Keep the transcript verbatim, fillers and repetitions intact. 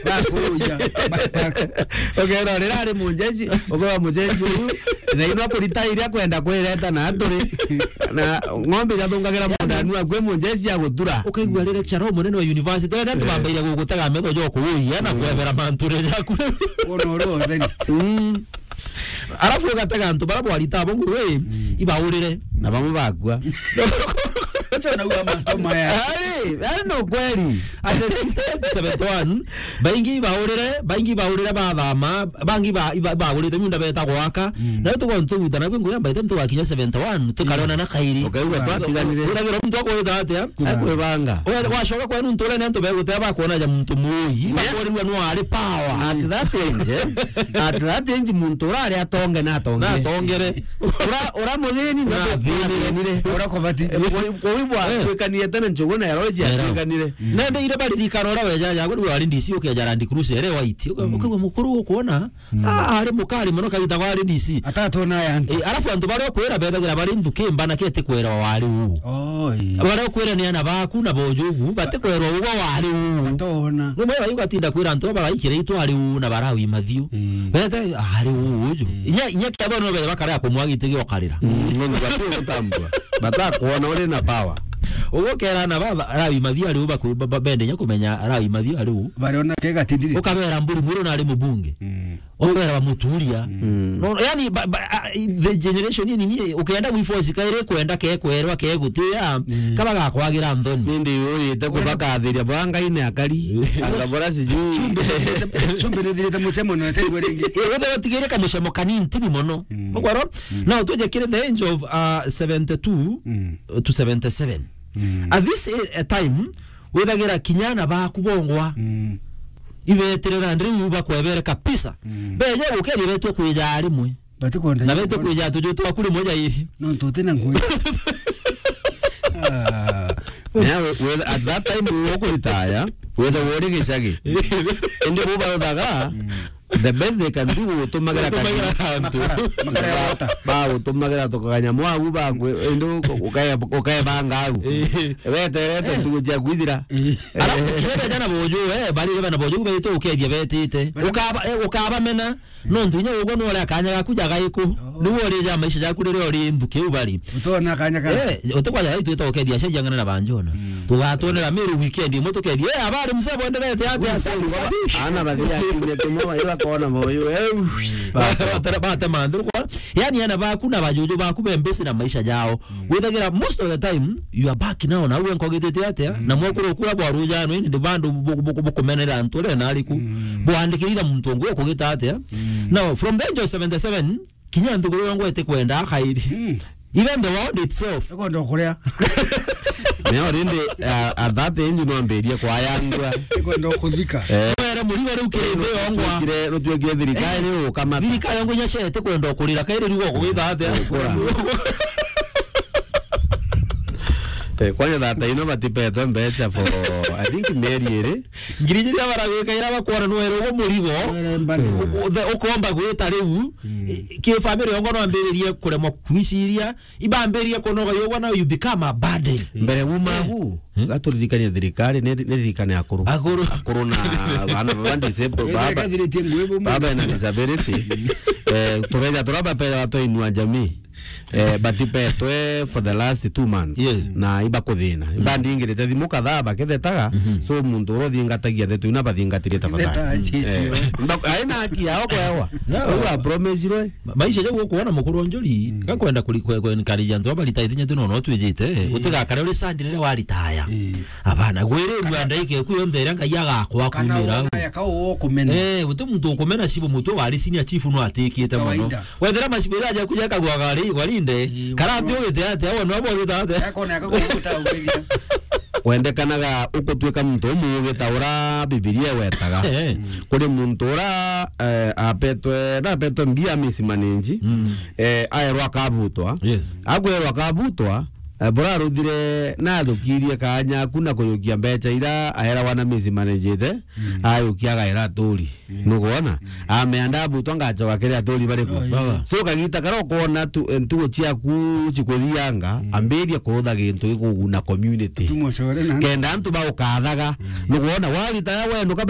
Bakuruja. Ukera rira ari mujeshi, ukera mujeshi uyu, thaino akurita iria kwenda kwireta na aturi. Na ng'ombe iria thungagira mundanu akwe mujeshi agutura. Ukaigua riri lecturer umunene wa university, ena tubambaire gugutega metho jo kuuya na kwebera manture jaku. Kuona uri utheni. Mm. Arafu ugatega antu bara bwarita abo nguru, ibaurire. Na bamwe bakua. Acha na uga mantu maya. Ari, ari no kweli. Ase sixty-eight to seventy-one, baingi ibaurire, baingi ibaurire bathama, bangi ba, iba, ibaurite miunda beta gwaka. Mm. Na tugo ntugwita na bingu yamba ite mtu wakinya seventy-one, tukarona na kairi. Ukaigua twatiganire. Uragira mtu akwita atia? Akwibanga. Oya, wacoka kwenu nturene antu beguteba bakwona ja muntu muyi, bakorirwa no ari power. At that age, eh? At that age, muntu urari atonge na atongere. Na atongere. Ura, ura muthini na athinire. Ura kubati. Kuibwa, eh, twikanie tene njugu na eroji atwikanire. Nende ire baririkana ura weja ya guri wari D C ukeja Land Cruiser ere white. Uka-, mm, ukaigua mukuru ukwona. Mm. Ah, ari mukari mono kagita kwa ari D C. Atatona ya antu. Eh, arafu antu baria ukwira bethagira bari nthuki mbana kete kwera wari uu. Oh, ii. Baria ukwira ni ana baku na bojugu, bati kwera ugo wari uu. Batona. Rumwe baigatinda kwira antu bagaikira itu ari uu na barawi mathiu. Mm. Bete ari uu uju. Mm. Inya, inya kiatho no bere bakara kumwagitigi okarira. Mm, no bati gutambua. Batakwona uri na power. Ugo kera na baba, rawi mathiu ari uu baku-, ba-, ba-, bende nya kumenya rawi mathiu ari uu. Bariona kega tindiri. Ukabera mburi muru na ari mubunge. Mm. Obera bamuturia. Mm. No, yani, ba, ba, a, i, the generation ini ni, ukienda gwi force kaire kwenda ke kwerwa ke gutia, mm, kaba gakwagira nthoni. Nindi uyite kubakathiria bwa Ngai ni akari. Anga bora sijui. Chumbe nithirite, chumbe nithirite muchemo no ete igwe ringi. Eh, wethe watigire kamuchemo kanini tibi mono. Mm. Ukwaro? Mm. Now, tuje kiri the age of, uh, seventy-two, mm, to seventy-seven. Mm. At this, eh, time, withagira kinya ana baku bongwa. Mm. Ibeterera ndiri uyu bakwebere kabisa. Mm. Beje gukeria betwe kwija rimwe. Batikwenda. Na betwe kwija tuju twaku rimwe jairi. No, tuti na ngui. Ah. Nawe, we, at that time, we ukuritaya, wethe wori gicagi. Indi bo baruthaga, mm, the best they can do, gutumagira kagiri. Makara, makara ya wota. Ba, ba gutumagira tukaganya mwagu, ba kwe, indi uka-, ukae-, ukaebanga au. Eh. Weterete, eh, ntugu cia kwithira. Eh. Alafu, eh, kinya bejana bojo, eh, bari bana bojo, betu ukethia betite. Bana ukaba, eh, ukabamena. Nontu inya uguo nwore akanya gaku jagaiku. Oh. Niwe urija maisha jaku riria uri nthuki u bari. Utona akanya ka. Eh, utikwaja gaitwita ukethia aciari ang'ana na banjona. Mm. Tugatwonera Meru weekend imwe tukethia, eh, abari mzee bwenderete atia? Good sana. Ana bathia kiumia kimwe, iba kona moyo, eh. Ba-, ba-, batema nthuru kwa. Yani, ana baku na bajuju baku be busy na maisha jao. Mm. Withagira most of the time, you are back now, na uwe nkogitete atia? Mm. Na mwakuru kura bwa rujano, ini ndi bandu bu-, bu-, bu-, bukumenera antu ria nariku. Mm. Bwandikirira muntu ungi ukugita atia? Mm. Now, from the age of seventy-seven, kinya nthiguru yongwa itikwenda akairi. Mm. Even the world itself. Ikwenda kuria. Neo rindi, uh, at that age no ambirie kwayangua. Ikwenda kuthika. Eh. Were murigo riu kiri nthi yongwa. Rutwikire, rutwikire thirikari, eh, ukamata. Thirikari yongwa inya cete kwenda kurira, kairi riu gukugita atia? Kura. Eh, kwani thata ino batipetwe mbeca for, I think, mieri iri. Ngiri iria baragwika ira bakwona nwere ugo murigo. Nwere mbani. U-, u-, the-, ukomba gwita riu. Mm. I-, ki family yongo no ambiririe kuremwa kwiciria. Ibambiririe kunoga yogwa, now you become a burden. Mbere uma, eh, gu, eh, gaturirikania thirikari, ni, ni ririkane akuru. Akuru. Akuru na bana baba disabled, baba. Baba na disability. Eh, tureja turaba pera watoinua jamii. Eh, batipetwe for the last two months. Yes. Na ibakuthina. Mm. Ibandingirite thimu kadhaa bakithetaga. Mhm. So, muntu uria uthingatagia ndeto ina bathingatire tafadhali. Beta, yes, eh, yes. Mba-, aina haki yao kwewa. No. Uga promisirwe. Ma-, maisha jau ukuona mukuru njuri, mm, gakwenda kuri-, kwe-, kwe-, encourage antu aba retire inya tu no, no twijite, eh, eh, utigakare uri sad riria wa retire. Eh. Abana, gwire rua ndaike ku yonthe iria Ngai agakwa kumira. Kana wona ya ka ukumena. Eh, uti muntu ukumena cibu mutwe wari senior chief no atikite muno. Kawaida. Wethira macibu jaja kuja kagwa gari, gwarinde. Ii, kara nthi ugite atia, wona abo ugite atia? Akona akakuta ugithia. Wendekanaga ukutwika muntu umuugi ta ura Bibilia ewetaga. Eh. Kuri muntu ura, eh, apetwe, na apetwe mbia misi manenji, mm, eh, aerwa akabutwa. Yes. Agwerwa akabutwa, eh, bura aruthire na athukirie kanya aku na kuyukia mbeca ira aerawa na misi manenjite, mm, ayukia agaera aturi. Mm. Nukwona? Mm. Ameanda abutwa ngacoka kiri aturi bariku. Oh, yeah. Baba. So, kagita karia ukwona tu, eh, ntugo ciaku cikuthianga, mm, ambiria kurutha gintu gikuguna community. Tumocore na kenda antu bagukathaga. Mm. Nukwona? Waritaya wenduka